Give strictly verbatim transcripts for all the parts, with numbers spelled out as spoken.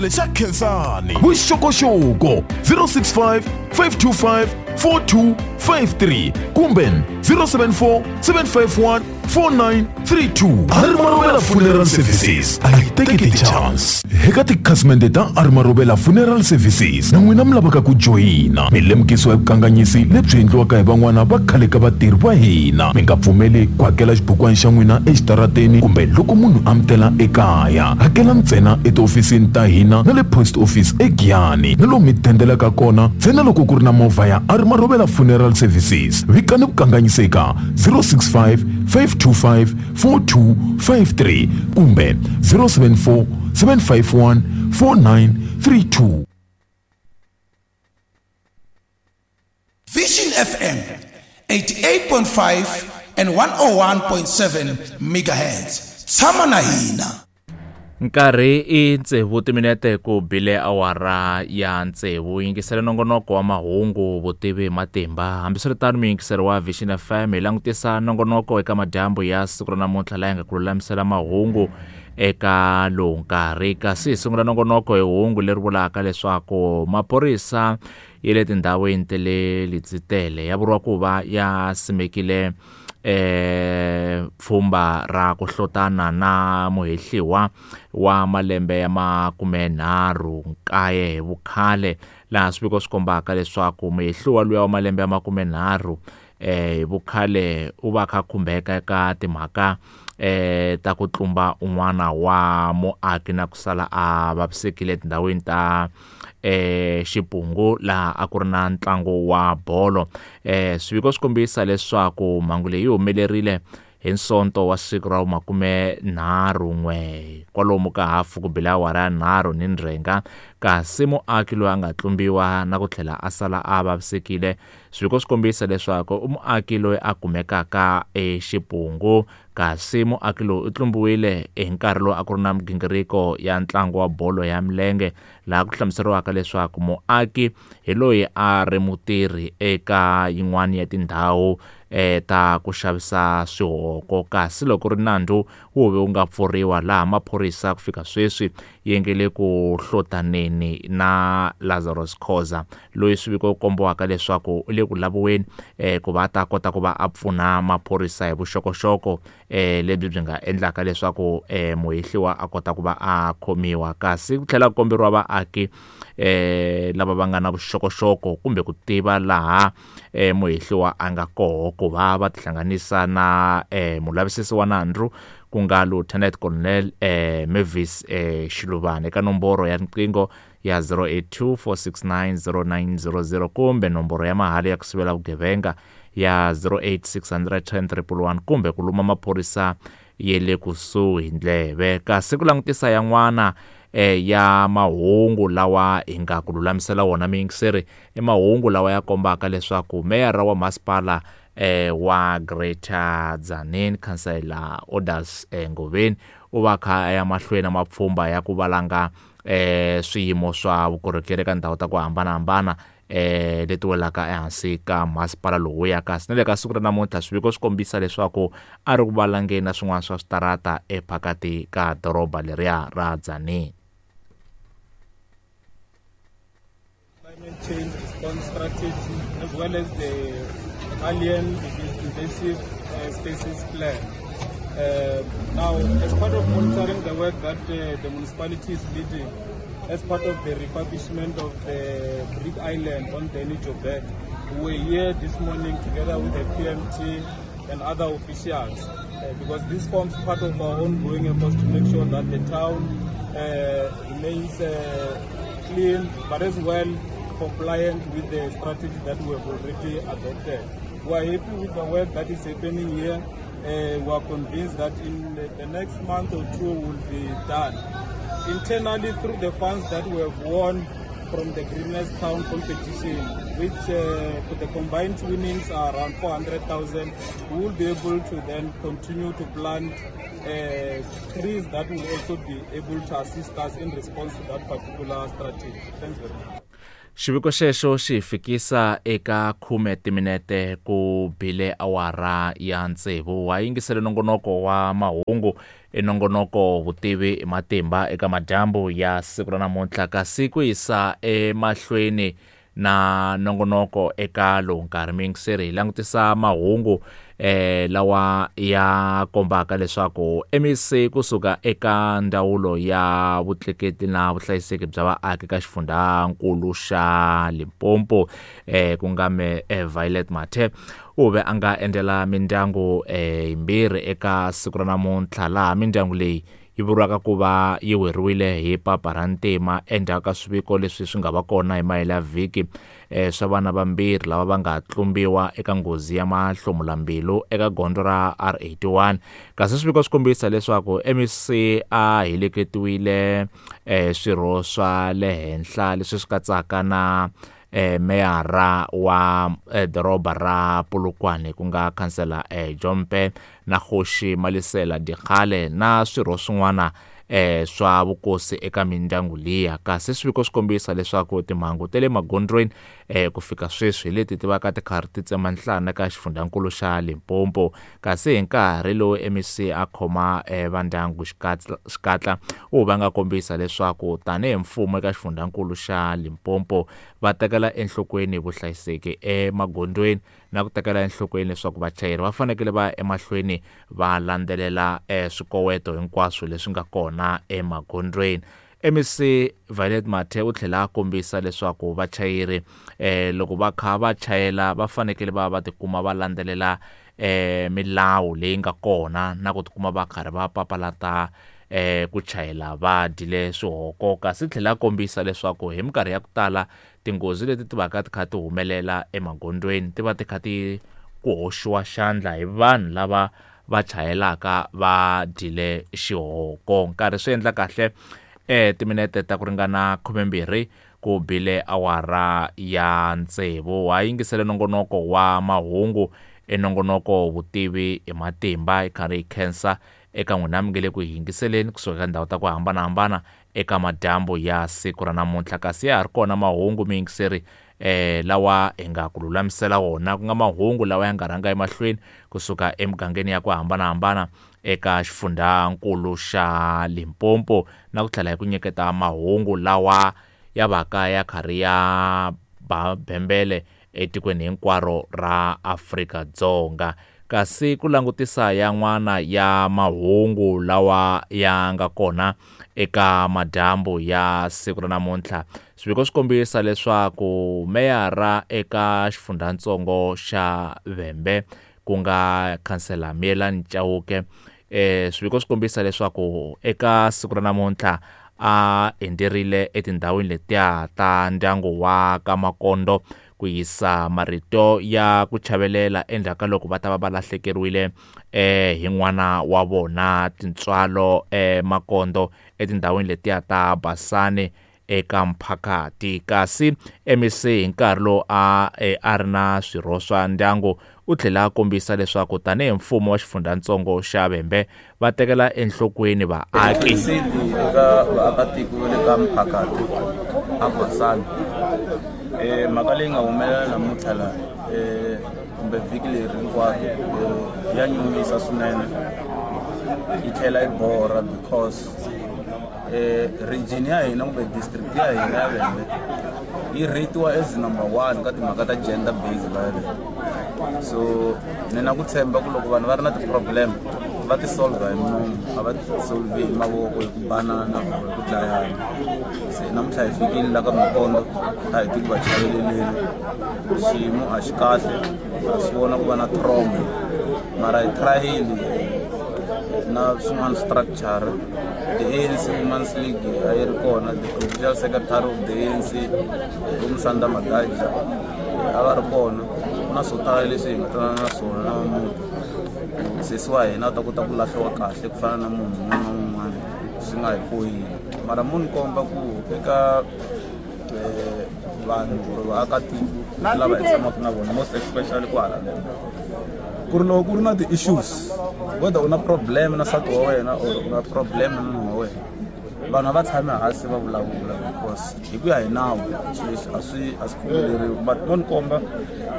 Xa Khensani vuxokoxoko zero six five five two five four two five three kumbe zero seven four seven five one four nine three two. R Marobela Funeral Services a yi teki ti-chance. Eka tikhasimende ta R Marobela Funeral Services na n'wina mi lavaka ku joyina, mi lemukisiwa hi vukanganyisi lebyi endliwaka hi van'wana va khale ka vatirhi va hina. Mi nga pfumeli ku hakela xibukwana xa n'wina exitarateni kumbe loko munhu a mi tela ekaya. Hakela ntsena etihofisini ta hina na le post office eGiyani na lomu mi tendelaka kona ntsena loko ku ri na movha ya R Marobela Funeral Services. Vikani vukanganyisi eka zero six five five two five four two five three kumbe zero seven four seven five one four nine three two. Vision F M eighty-eight point five and one oh one point seven megahertz. Tshama na hina. Nkarhi i tsevu timinete ku bile awara ya tsevu. Yingisela nongonoko wa mahungu vutivi hi matimba. Hambiswiritano muyingiseri wa Vision F M hi langutisa nongonoko eka madyambu ya siku ra namuntlha laha hi nga ku lulamisela mahungu eka lowu nkarhi. Kasi hi sungula nongonoko hi hungu leri vulaka leswaku maphorisa ya le tindhawini ta le Letsitele ya vuriwa ku va ya simekile eh pfhumba ra ku hlotana na muhehliwa wa malembe ya makumenharhu nkaye hi vukhale, laha swiviko swi kombaka leswaku muhehliwa luya wa malembe ya makumenharhu eh hi vukhale u va kha khumbeka eka timhaka eh ta ku tlumba un'wana wa muaki na ku sala a vavisekile etindhawini ta eh Xipungu laha a ku ri na ntlangu wa bolo. Eh swiviko swi kombisa leswaku mhangu leyi humelerile hi Sonto wa siku ra makumenharhu n'we kwalomu ka hafu ku bile awara ya nharhu ni ndzhenga, kasi muaki loyi a nga tlumbiwa na ku tlhela a sala a vavisekile swiviko swi kombisa leswaku i muaki loyi a kumekaka eXipungu, kasi muaki loyi u tlumbiwile hi nkarhi lowu a ku ri na migingiriko ya ntlangu wa bolo ya milenge, laha ku hlamuseriwaka leswaku muaki hi loyi a ri mutirhi eka yin'wana ya tindhawu eh ta ku xavisa swihoko, kasi loko ri nandzu wu ve wu nga pfuriwa laha maphorisa ku fika sweswi yi nge le ku hlotaneni na Lazarus Khoza loyi swiviko kombiwaka leswaku u le ku laviweni eh ku va ta kota ku va a pfuna maphorisa hi vuxokoxoko eh lebyi byi nga endlaka leswaku eh muhehliwa a kota ku va a khomiwa. Kasi ku tlhela ku komberiwa vaaki eh lava va nga na vuxokoxoko kumbe ku tiva laha eh muhehliwa a nga koho ku va va tihlanganisa na eh mulavisisi wa nandzu ku nga Lieutenant Colonel eh Mavis eh Xiluvani eka nomboro ya riqingho ya zero eight two four six nine zero nine zero zero kumbe nomboro ya mahala ya ku sivela vugevenga ya zero eight six hundred ten triple one kumbe ku luma maphorisa ya le kusuhi ndleve. Kasi ku langutisa yan'wana eh ya mahungu lawa hi nga ku lulamisela wona miyingiseri i mahungu lawa ya kombaka leswaku meyara wa masipala eh wa Greater Tzaneen Councillor Orders eh, Ngoveni u va kha ya mahlweni na mapfhumba ya ku valanga eh swiyimo swa vukorhokeri eka ndhawu ta ku hambanahambana eh leti welaka ehansi ka masipala lowuya. Kasi na le ka siku ra namuntlha swiviko swi kombisa leswaku a ri ku valangeni na swin'wana swa switarata ephakati ka doroba leriya ra Tzaneen. Climate change response strategy as well as the alien invasive uh, species plan. Uh, now, as part of monitoring the work that uh, the municipality is leading, as part of the refurbishment of the Brick Island on Danny Joubert, we were here this morning together with the P M T and other officials, uh, because this forms part of our ongoing efforts to make sure that the town uh, remains uh, clean, but as well compliant with the strategy that we have already adopted. We are happy with the work that is happening here. Uh, we are convinced that in the, the next month or two will be done. Internally, through the funds that we have won from the Greenest Town competition, which uh, the combined winnings are around four hundred thousand, we will be able to then continue to plant uh, trees that will also be able to assist us in response to that particular strategy. Thanks very much. Xiviko xexo xi fikisa eka khume timinete ku bile awara ya tsevu. Wa yingisele nongonoko wa mahungu i nongonoko vutivi hi matimba eka madyambu ya siku ra namuntlha, kasi ku yisa emahlweni na nongonoko eka lowu nkarhi miyingiseri hi langutisa mahungu eh lawa ya kombaka leswaku M E C kusuka eka ndzawulo ya vutleketli na vuhlayiseki bya vaaki ka xifundzankulu xa Limpopo eh ku nga me Violet Mathe u ve a nga endlela mindyangu eh yimbirhi eka siku ra namuntlha, laha mindyangu leyi yi vuriwaka ku va yi weriwile hi papa ra ntima endzhaku ka swiviko leswi swi nga va kona hi mahela ya vhiki eh swa vana vambirhi lava va nga tlumbiwa eka nghozi ya mahlomulambilu eka gondzo ra R eighty-one. Kasi swiviko swi kombisa leswaku M E C a heleketiwile eh swirho swa le henhla leswi swi katsaka na eh meyara wa eh, doroba ra Polokwane ku nga khansela eh, Jompe na Kgoši Malisela Dikgale na swirho swin'wana eh swa vukosi eka mindyangu liya. Kasi swiviko swi kombisa leswaku timhangu ta le magondzweni eh ku fika sweswi hi leti ti vaka ti karhi ti tsema nhlana ka xifundzankulu xa Limpopo. Kasi hi nkarhi lowu M E C a khoma eh, vandyangu xikatla xikatla u va nga kombisa leswaku tanihi mfumo eka xifundzankulu xa Limpopo va tekela enhlokweni vuhlayiseki emagondzweni na ku tekela enhlokweni leswaku vachayeri va fanekele va ya emahlweni va landzelela eh, swikoweto hinkwaswo leswi nga kona emagondzweni. M E C Violet Mathe u tlhela a kombisa leswaku vachayeri eh loko va kha va chayela va fanekele va va tikuma va landzelela eh milawu leyi nga kona na ku tikuma va karhi va papalata eh ku chayela va dyile swihoko. Kasi tlhela a kombisa leswaku hi minkarhi ya ku tala tinghozi leti ti vaka ti kha ti humelela emagondzweni ti va ti kha ti ku hoxiwa xandla hi vanhu lava va chayelaka va dyile xihoko. Nkarhi swi endla kahle eh timinete ta ku ringana khumembirhi ku bile awara ya tsevu. Wa yingisele nongonoko wa mahungu i nongonoko vutivi hi matimba hi karhi hi khensa eka n'wina mi nge le ku yingiseleni kusuka ka ndhawu ta ku hambanahambana eka madyambu ya siku ra namuntlha. Kasi ya ha ri kona mahungu miyingiseri eh lawa hi nga ku lulamisela wona ku nga mahungu lawa ya nga rhanga emahlweni kusuka emugangeni ya ku hambanahambana eka xifundzankulu xa Limpopo, na ku tlhela hi ku nyiketa mahungu lawa ya vaka ya karhi ya ba bembele etikweni hinkwaro ra Afrika-Dzonga. Kasi ku langutisa yan'wana ya mahungu lawa ya nga kona eka madyambu ya siku ra namuntlha, swiviko swi kombisa leswaku meyara eka xifundzatsongo xa Vhembe ku nga khansela Mielani Chauke eh swiviko swi kombisa leswaku eka siku ra namuntlha a endzerile etindhawini letiya ta ndyangu wa ka Makondo ku yisa marito ya ku chavelela endzhaku ka loko va ta va va lahlekeriwile eh hi n'wana wa vona Tintswalo eh Makondo etindhawini letiya ta Basani eka Mphakati. Kasi M E C hi nkarhi lowu a a ri na swirho swa ndyangu u tlhela a kombisa leswaku tanihi mfumo wa xifundzatsongo xa Vhembe va tekela enhlokweni vaaki. Eka vaakatiko va le ka Mphakati a Basani eh mhaka leyi nga humelela namuntlha la eh kumbe vhiki leri hinkwaro ya nyumisa swinene yi tlhela yi borha because eh region ya hina kumbe district ya hina ya Vhembe yi rate-iwa as number one ka timhaka ta gender based violence. So ni na ku tshemba ku loko vanhu va ri na ti-problem va ti solve hi munhu, a va ti solve hi mavoko, hi ku banana or hi ku dlayana. Se namuntlha hi fikile la ka Makondo a hi ti ku va chaveleleni, xiyimo a xi kahle, ha swi vona ku va na trauma mara hi try-ile na swin'wana structure. The A N C Women's League a yi ri kona, the provincial secretary of the A N C Musanda Magaji a va ri kona. Ku na swo tala leswi hi nga twanana na swona na munhu sesi wa hina a ta kota ku lahliwa kahle ku fana na munhu un'wana na un'wana swi nga hi poyini. Mara munhu komba ku eka vanhu or vaakatiko lava hi tshamaka na vona most especially kwala ku ri loko ku ri na ti-issues whether u na problem na nsati wa wena or u na problem na nuna wa wena, vanhu a va tshami hansi va vulavula Cause hi ku ya hi nawu swilo leswi a swi a swi pfumeleriwi but mo ni komba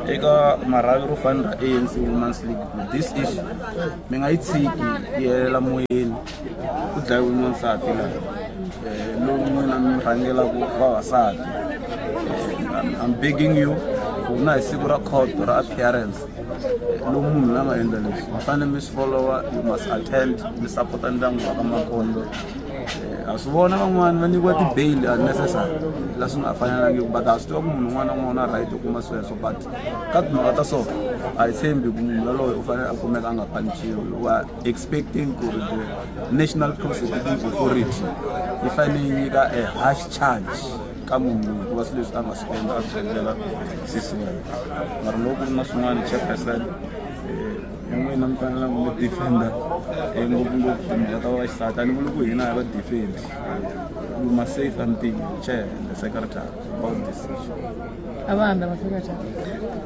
eka marhavi ro fana ra A N C Women's League ku this issue mi nga yi tshiki yi helela moyeni. Ku dlayiwe n'wansati laha, um lowu n'wina mi rhangelaka vavasati. I'm, I'm begging you ku na hi siku ra court ra appearance, lowu munhu la nga endla leswi mi fanele mi swi followa. You must attend, mi sapota ndyangu wa ka Makondo. Ha swi vona van'wani va nyikiwa ti-bail unnecessary la swi nga fanelangiki, but ha swi tiva ku munhu un'wana na un'wana u na right yo kuma sweswo, but ka timhaka ta so a hi tshembi ku munhu yaloye u fanele a kumeka a nga panichiwi. We are expecting ku ri the National Prosecuting Authority yi fanele yi nyika a harsh charge ka munhu loyi hikuva swilo leswi a nga swi endla a swi endlela sisi wena. Mara loko ku ri na swin'wana, chairperson, hi n'wina mi fanele mi defenda ngopfungopfu timhaka ta vaxisati. A ni vuli ku hina hi va defend. You must say something, chair and the secretary, about this issue. A va hambi va-secretary.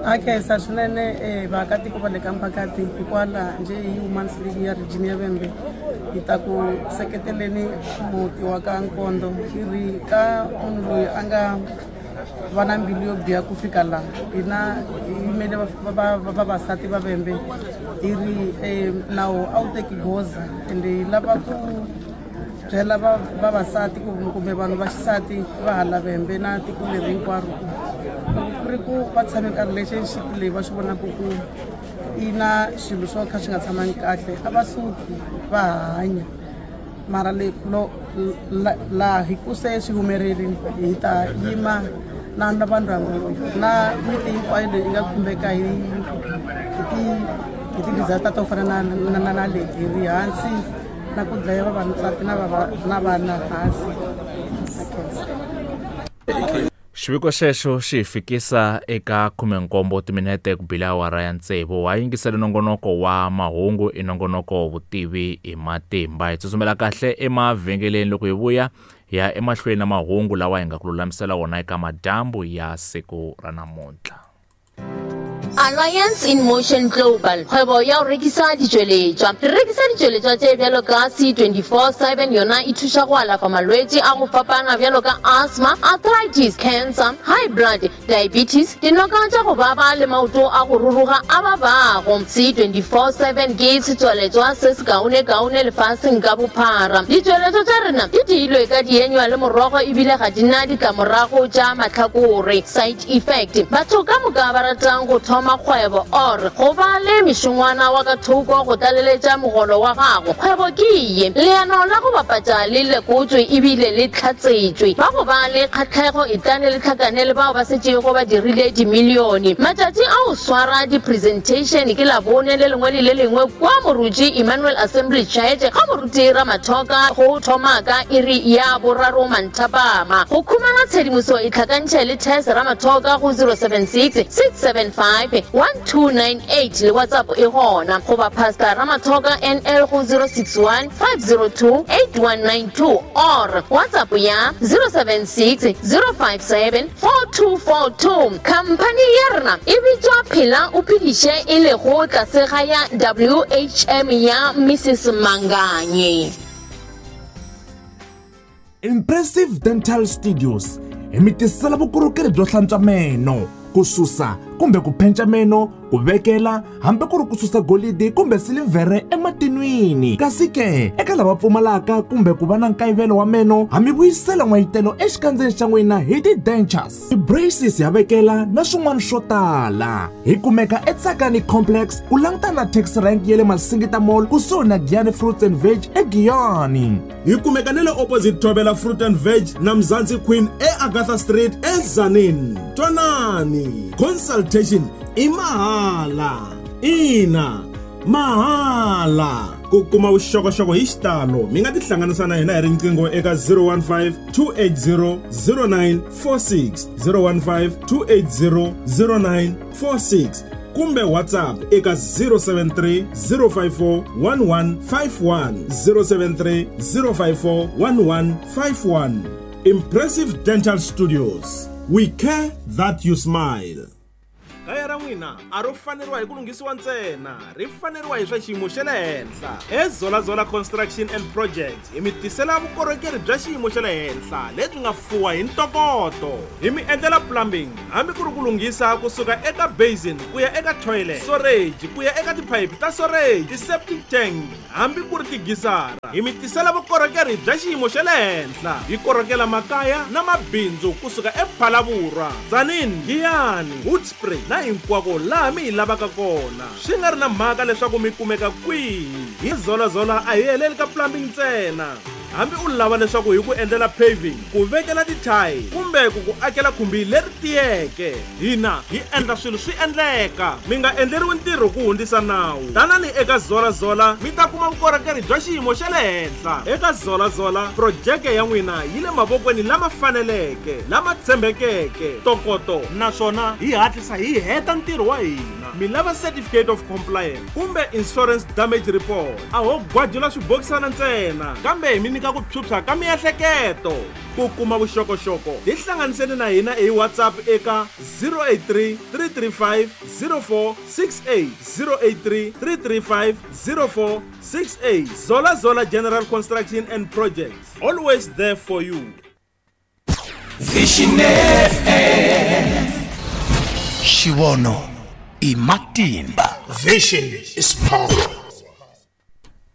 A khensa swinene eh, vaakatiko va le ka mphakati. Hikwalaho njhe hi Women's League ya region ya Vhembe hi ta ku seketeleni muti wa ka Nkondo. Hi ri ka munhu loyi a nga va na mbilu yo biha ku fika laha, hina hi yimele vavasati va Vhembe, hi ri um nawu a wu teki goza, ende hi lava ku byela vavasati kumbe vanhu va xisati va hala Vhembe na tiko leri hinkwaro ku loko ku ri ku va tshame ka relationship leyi va swi vonaka ku yi na swilo swo kha swi nga tshamangi kahle, a va suki va hanya. Mara le lo laha hi ku se swi humelerile, hi ta yima na na vandyangu na miti hinkwayo leyi nga khumbeka hi hi ti hi ti-disaster to fana na na na na leti. Hi ri hansi na ku dlaya vavasati na na vana hansi. A khensa. Xiviko xexo xi hi fikisa eka khumenkombo timinete ku bila awara ya tsevu. Wa yingisele nongonoko wa mahungu, i nongonoko vutivi hi matimba. Hi tsutsumela kahle emavhengeleni, loko hi vuya hi ya emahlweni na mahungu lawa hi nga ku lulamisela wona eka madyambu ya siku ra namuntlha. Alliance in Motion Global, kgwebo ya go rekisa ditšweletšwa. Re rekisa ditšweletšwa tše bjalo ka C twenty-four seven, yona e thuša go alafa malwetši a go fapana bjalo ka asthma, arthritis, cancer, high blood, diabetes, dinoka tša go baba le maoto a go ruruga a babago. C twenty-four seven ke setsweletšwa se se kaone-kaone lefaseng ka bophara. Ditšweletšwa tša rena di diilwe ka dienywa le morogo ebile ga di na ditlamorago tša mahlakore, side effect. Batho ka moka ba ratang go thoma kgwebo or go ba le mešongwana wa ka thoko go tlaleletša mogolo wa gago, kgwebo ke ye. Leano la go bapatša le lekotswe ebile le tlhatsetšwe. Ba go ba le kgatlhego e tlane le tlhakane le bao ba setšego ba dirile dimilione. Matšatši a go swara di-presentation ke Labone le lengwe le le lengwe kwa Moruti Emmanuel Assembly Church ga Moruti Ramathoka go thoma ka iri ya boraro manthapama. Go khumana tshedimoso e tlhakantšhe le Tess Ramathoka go zero seven six six seven five one two nine eight le WhatsApp e gona, goba Pastor Ramathoka N L go zero six one five zero two eight one nine two or WhatsApp ya zero seven six zero five seven four two four two. Company ya rena e bitswa Phela o Phediše, e lego tlase ga ya W H M ya Missus Manganye. Impressive Dental Studios hi mi tisela vukorhokeri byo hlantswa meno, ku susa kumbe ku phenca meno, ku vekela hambi ku ri ku susa golidi kumbe silivhere ematinwini. Kasi ke eka lava pfumalaka kumbe ku va na nkayivelo wa meno, ha mi vuyisela n'wayitelo exikandzeni xa n'wina hi ti-dentures, ti-braces ya vekela na swin'wana swo tala. Hi kumeka eTsakani Complex ku langutana na taxi rank ya le Masingita Mall kusuhi na Giyani Fruits and Veg eGiyani. Hi kumeka na le opposite Thobela Fruit and Veg na Mzansi Queen eAgatha Street eZanini. Twanani, consultation i mahala. Ina, mahala. Ku kuma vuxokoxoko hi xitalo mi nga tihlanganisa na hina hi riqingho eka zero one five two eight zero zero nine four six, zero one five two eight zero zero nine four six kumbe WhatsApp eka zero seven three zero five four one one five one, zero seven three zero five four one one five one. Impressive Dental Studios. We care that you smile. Kaya ra n'wina a ro faneriwa hi ku lunghisiwa ntsena, ri faneriwa hi swa xiyimo xa le henhla. EZolaZola Construction and Projects hi mi tisela vukorhokeri bya xiyimo xa le henhla lebyi nga fuwa hi ntokoto. Hi mi endlela plumbing, hambi ku ri ku lunghisa kusuka eka basin ku ya eka toilet, storage ku ya eka tiphayiphi ta storage, ti-septic tank, hambi ku ri tigisara. Hi mi tisela vukorhokeri bya xiyimo xa le henhla. Hi korhokela makaya na mabindzu kusuka ePhalaborwa, Tzaneen, Giyani, Hoedspruit na hinkwako laha mi hi lavaka kona. Swi nga ri na mhaka leswaku mi kumeka kwihi. Hi ZolaZola a hi heleli ka plumbing ntsena. Hambi u lava leswaku hi ku endlela paving, ku vekela tithayili kumbe ku ku akela khumbi leri tiyeke, hina hi endla swilo swi endleka. Mi nga endleriwi ntirho ku hundzisa nawu. Tanani eka ZolaZola mi ta kuma vukorhokeri bya xiyimo xa le henhla. Eka ZolaZola, projeke ya n'wina yi le mavokweni lama faneleke, lama tshembekeke, ntokoto, naswona hi hatlisa hi heta ntirho wa hina. Mi lava certificate of compliance kumbe insurance damage report, a ho gwajula swibokisana ntsena, kambe hi mi nyika ku phyuphya ka miehleketo. Ku kuma vuxokoxoko, tihlanganiseni na hina hi WhatsApp eka zero eight three, three three five, zero four six eight, zero eight three, three three five, zero four six eight. ZolaZola General Construction and Projects, always there for you. Vision F M. Xivono i matimba. Vision is power.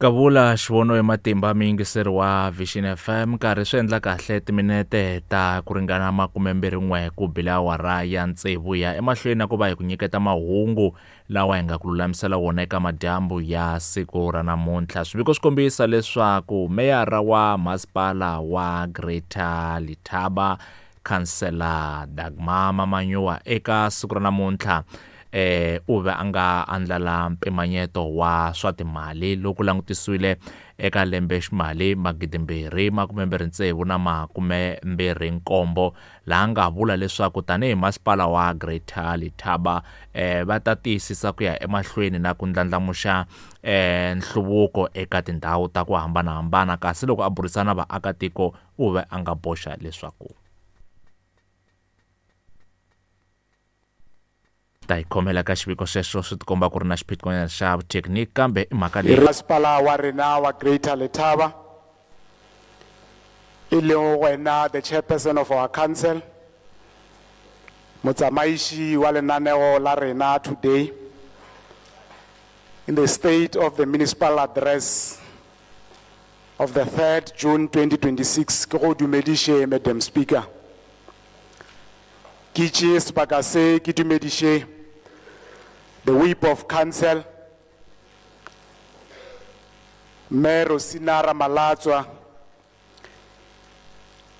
Kavula xivono i matimba miyingiseri wa Vision F M, nkarhi swi endla kahle timinete ta ku ringana makume mbirhi n'we ku bile awara ya tsevu ya emahlweni na ku va hi ku nyiketa mahungu lawa hi nga ku lulamisela wona eka madyambu ya siku ra namuntlha. Swiviko swi kombisa leswaku meyara wa masipala wa Greater Letaba, Councillor Dagmar Mamanyoa, eka siku ra namuntlha eh u ve a nga andlala mpimanyeto wa swa timali loku langutisiwile eka lembe ximali magidi mbirhi makume mbirhi tsevu na makume mbirhi nkombo, laha nga vula leswaku tanihi masipala wa Greater Letaba eh va ta tiyisisa ku ya emahlweni na ku ndlandlamuxa eh nhluvuko eka tindhawu ta ku hambanahambana. Kasi loko a burisana vaakatiko u ve a nga boxa leswaku ta hi khomela ka xiviko xexo swi tikomba ku ri na xiphiqonyana xa thekiniki, kambe i mhaka leyi masipala wa rena wa Greater Letaba e leng wena the chairperson of our council, motsamaishi wa lenaneo la rena today in the state of the municipal address of the third June twenty twenty-six. Ke go dumediše Madam Speaker. Ke tšee sebaka se ke dumediše the whip of council, Mme Rosina Ramalatswa.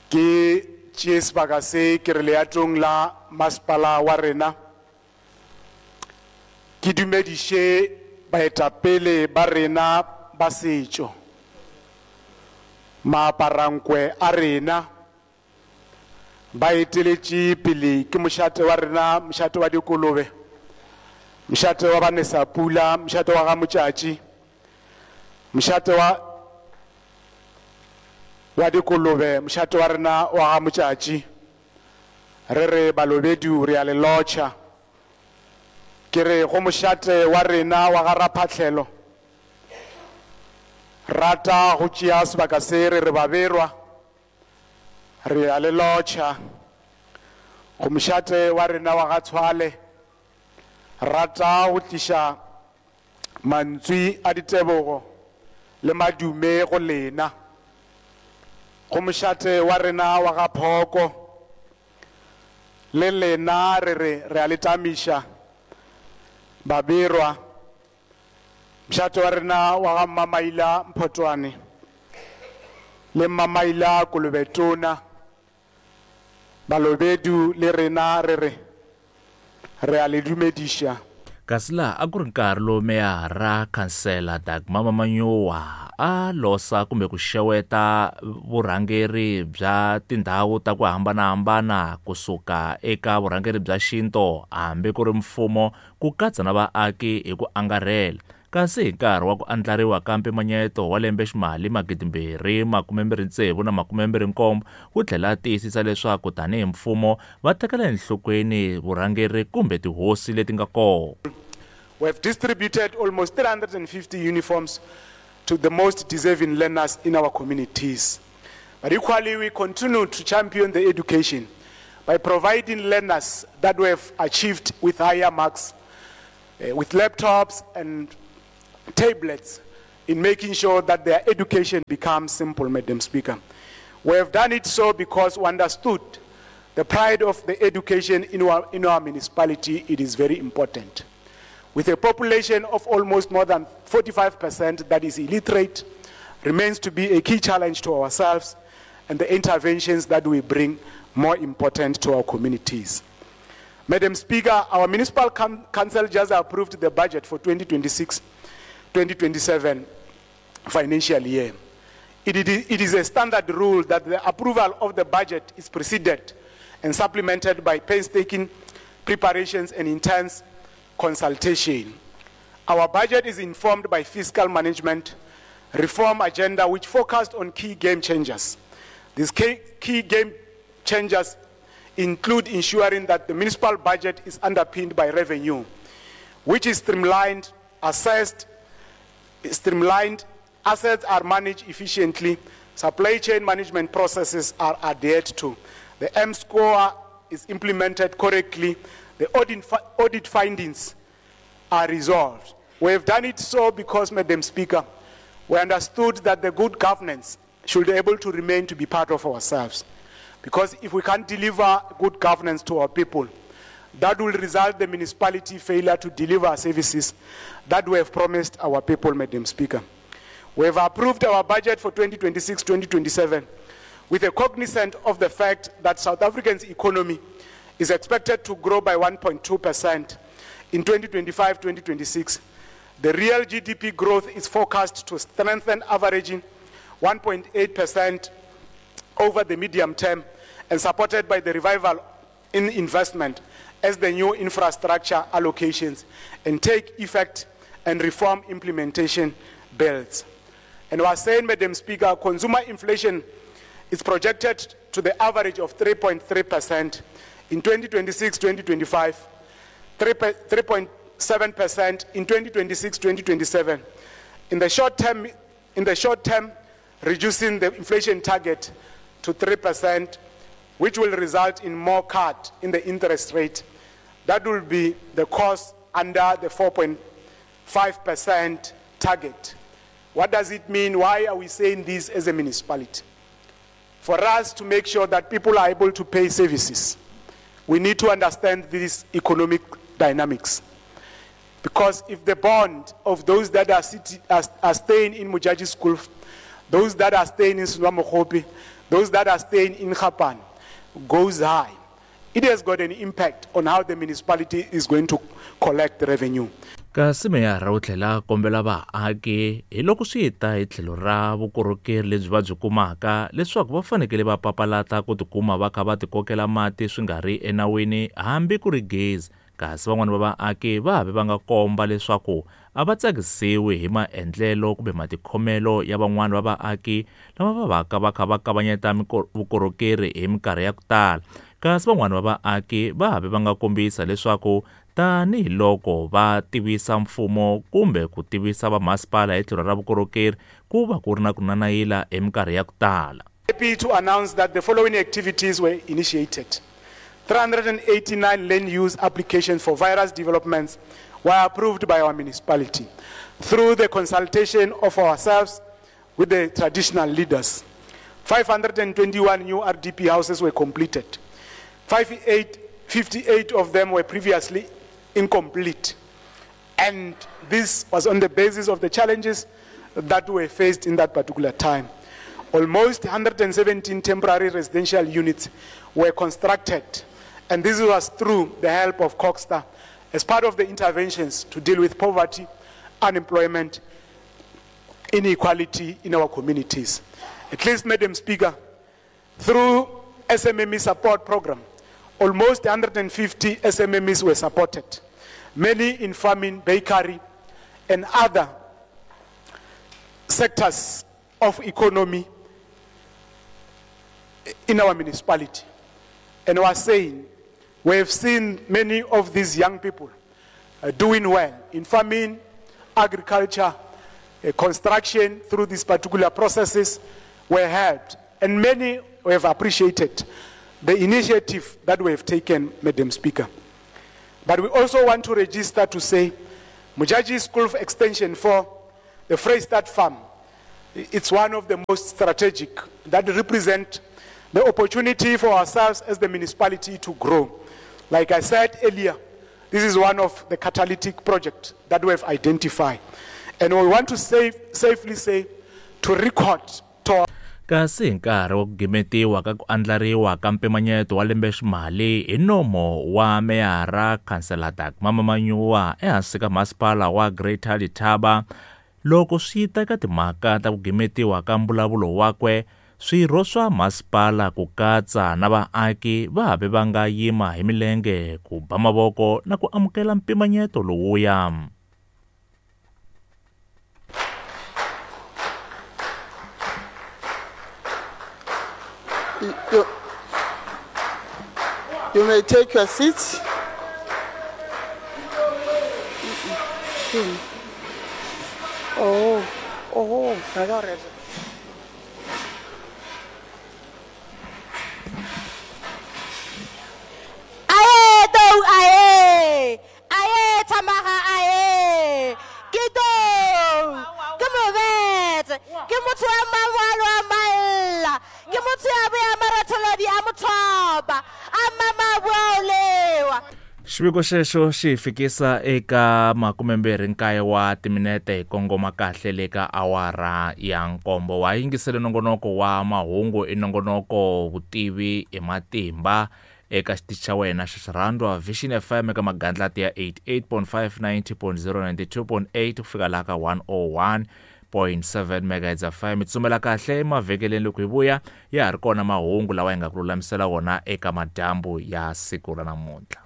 Ke tšee sebaka se ke re leatong la masepala wa rena, ke dumediše baetapele ba rena ba setšo, maaparankwe a rena, ba eteletše pele ke mošate wa rena, mošate wa dikolobe, mošate wa Banesapula, mošate wa ga Motšatši, mošate wa wa dikolobe, mošate wa rena wa ga Motšatši. Re re balobedu re a le lotšha. Ke re go mošate wa rena wa ga Raphatlhelo, rata go tšea sebaka se re re baberwa, re a le lotšha. Go mošate wa rena wa ga Tshwale, rata go tliša mantswe a ditebogo le madume go lena. Go mošate wa rena wa ga Phoko, le lena re re re a le tamiša baberwa. Mošate wa rena wa ga Mmamaila Mphotwane le Mmamaila Kolobetona, balobedu le rena re re re a le dumediša. Kasi laha a ku ri nkarhi lowu meyara Councillor Dagmar Mamanyoa a losa kumbe ku xeweta vurhangeri bya tindhawu ta ku hambanahambana kusuka eka vurhangeri bya xinto hambi ku ri mfumo, ku katsa na vaaki hi ku angarhela. Kasi hi nkarhi wa ku andlariwa ka mpimanyeto wa lembe ximali magidi mbirhi makume mbirhi tsevu na makume mbirhi nkombo wu tlhela tiyisisa leswaku tanihi mfumo va tekela enhlokweni vurhangeri kumbe tihosi leti nga kona. We have distributed almost three hundred and fifty uniforms to the most deserving learners in our communities. But equally, we continue to champion the education by providing learners that we have achieved with higher marks, uh, with laptops and tablets, in making sure that their education becomes simple, Madam Speaker. We have done it so because we understood the pride of the education in our, in our municipality. It is very important. With a population of almost more than forty-five percent that is illiterate, remains to be a key challenge to ourselves and the interventions that we bring more important to our communities. Madam Speaker, our municipal council just approved the budget for twenty twenty-six twenty twenty-seven financial year. It, it, it is a standard rule that the approval of the budget is preceded and supplemented by painstaking preparations and intense consultation. Our budget is informed by fiscal management reform agenda, which focused on key game changers. These key, key game changers include ensuring that the municipal budget is underpinned by revenue, which is streamlined, assessed, streamlined, assets are managed efficiently, supply chain management processes are adhered to, the M score is implemented correctly, the audit, audit findings are resolved. We have done it so because, Madam Speaker, we understood that the good governance should be able to remain to be part of ourselves. Because if we can't deliver good governance to our people, that will result in the municipality failure to deliver services that we have promised our people, Madam Speaker. We have approved our budget for twenty twenty-six twenty twenty-seven with a cognizance of the fact that South Africa's economy is expected to grow by one point two percent in twenty twenty-five twenty twenty-six. The real G D P growth is forecast to strengthen, averaging one point eight percent over the medium term and supported by the revival in investment as the new infrastructure allocations and take effect and reform implementation builds. And we are saying, Madam Speaker, consumer inflation is projected to the average of three point three percent in twenty twenty-six twenty twenty-five, three point seven percent in twenty twenty-six twenty twenty-seven. In the short term, in the short term, reducing the inflation target to three percent, which will result in more cut in the interest rate. That will be the cost under the four point five percent target. What does it mean? Why are we saying this as a municipality? For us to make sure that people are able to pay services, we need to understand these economic dynamics. Because if the bond of those that are, city, are, are staying in Mujaji School, those that are staying in Sunwamokhopi, those that are staying in Japan, goes high, it has got an impact on how the municipality is going to collect the revenue. Kasi meyara u tlhela kombela vaaki hi loko swi ta hi tlhelo ra vukorhokeri lebyi va byi kumaka leswaku va fanekele va papalata ku tikuma va kha va tikokela mati swi nga ri enawini hambi ku ri gezi. Kasi van'wana va vaaki va have va nga komba leswaku a va tsakisiwi hi maendlelo kumbe matikhomelo ya van'wana va vaaki lava va vaka va kha va kavanyeta vukorhokeri hi minkarhi ya ku tala. Kasi van'wana va vaaki va have va nga kombisa leswaku tanihiloko va tivisa mfumo kumbe ku tivisa vamasipala hi tlhelo ra vukorhokeri ku va ku ri na ku nanayila hi minkarhi ya ku tala. Happy to announce that the following activities were initiated. three hundred eighty-nine land use applications for various developments were approved by our municipality through the consultation of ourselves with the traditional leaders. five hundred twenty-one new R D P houses were completed. fifty-eight of them were previously incomplete. And this was on the basis of the challenges that were faced in that particular time. Almost one hundred seventeen temporary residential units were constructed, and this was through the help of CoGHSTA as part of the interventions to deal with poverty, unemployment, inequality in our communities. At least, Madam Speaker, through S M M E support program, almost one hundred fifty S M M Es were supported, many in farming, bakery, and other sectors of economy in our municipality. And we are saying, we have seen many of these young people uh, doing well in farming, agriculture, uh, construction through these particular processes were helped. And many have appreciated the initiative that we have taken, Madam Speaker. But we also want to register to say, Modjadji School of Extension four, the Freystad Farm, it's one of the most strategic that represent the opportunity for ourselves as the municipality to grow. Like I said earlier, this is one of the catalytic projects that we have identified. And we want to safe, safely say, to record to Kasi hi nkarhi wa ku gimetiwa ka ku andlariwa ka mpimanyeto wa lembeximali hi nomo wa meyara Khansela Dagmar Manyowa ehansi ka masipala wa Greater Letaba, loko swi ta eka timhaka ta ku gimetiwa ka mbulavulo wakwe, swirho swa masipala ku katsa na vaaki va habe va nga yima hi milenge ku ba mavoko na ku amukela mpimanyeto lowuya. You, you may take your seats. Oh, oh, I got it. Aye, do aye, aye, tamaha aye, kido, come over, ke motho wa mangwalo a maella, ke motho ya boya maratholodi a mothoba, a mama bua o lewa. Xiviko xexo xi fikisa eka makumembirhi nkaye wa timinete hi kongoma kahle le ka awara ya nkombo. Wa yingisele nongonoko wa mahungu i nongonoko vutivi hi matimba eka xitichi xa wena xa xirhandwa Vision F M eka magandlati ya eighty-eight point five, ninety point zero, ninety-two point eight ku fika laha ka one oh one point seven megahertz F M. Tsumela kahle emavhengeleni loko hi vuya ya ha ri kona mahungu lawa hi nga ku lulamisela wona eka madyambu ya siku ra namuntlha.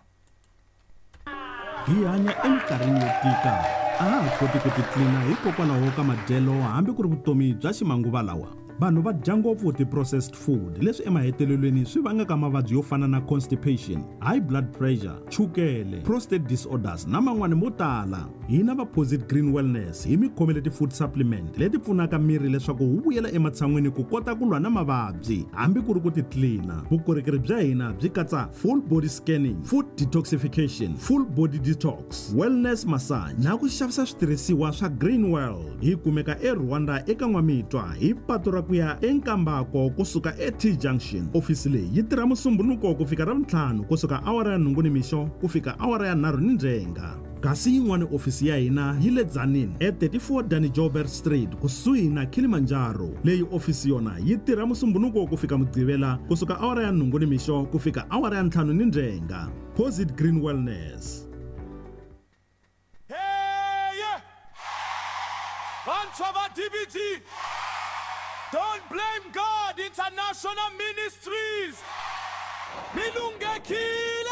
Hi hanya eminkarhini yo tika, a ha ha koti ku titlina hikokwalaho ka madyelo hambi ku ri vutomi bya ximanguva lawa. Vanhu va dya ngopfu ti-processed food leswi emahetelelweni swi vangaka mavabyi yo fana na constipation, high blood pressure, chukele, prostate disorders na man'wani mo tala. Hina va Posit Green Wellness hi mi khomele ti-food supplement leti pfunaka miri leswaku wu vuyela ematshan'wini ku kota ku lwa na mavabyi hambi ku ri ku titlina. Vukorhokeri bya hina byi katsa full body scanning, food detoxification, full body detox, wellness massage na ku xavisa switirhisiwa swa Green World. Hi kumeka eRwanda eka N'wamitwa hi patu ra ku ya eNkambako kusuka e-T Junction. Ofisi leyi yi tirha Musumbhunuko ku fika Ravuntlhanu kusuka awara ya nhungu nimixo ku fika awara ya nharhu ni ndzhenga. Kasi yin'wana ofisi ya hina yi le Tzaneen e thirty-four Danny Joubert Street kusuhi na Kilimanjaro. Leyi ofisi yona yi tirha Musumbhunuko ku fika Mugqivela kusuka awara ya nhungu nimixo ku fika awara ya ntlhanu ni ndzhenga. Posit Green Wellness. Hey, yeah. Vantshwa va D B T. Don't blame God, International Ministries. Milunge